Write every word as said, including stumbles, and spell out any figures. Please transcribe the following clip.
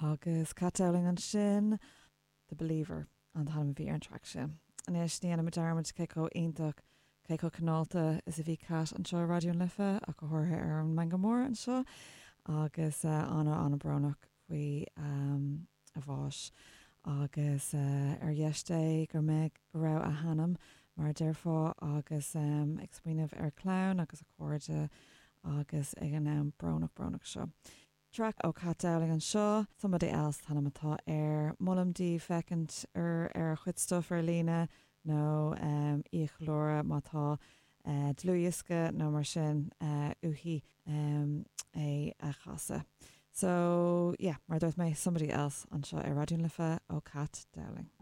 Agus Kat Dowling ansin The Believer an t-ainm a bhí ar an track sin. Anois ní dhéanfaidh mé dearmad cé chomh iontach cé chomh cineálta is a bhí Kat anseo Raidió na Life ach go háirithe ar an Meangadh Mór anseo agus uh, ana an-bhrónach faoi um, a bhás agus uh, ar dheis Dé go mbeidh go raibh a hanam mar a déarfá agus um, ag smaoineamh ar chlann agus a cairde agus ag an am brónach brónach seo. Track ó Kat Dowling anseo, somebody else an t-ainm atá air molaim daoibh féachaint ar ar a chuid stuff ar líne nó um, í a cheiliúradh má tá uh, dlúthdhiosca nó mar sin uh, uaithi um, é a chasadh. So yeah, mar dúirt mé somebody else anseo ar Raidió na Life ó Kat Dowling.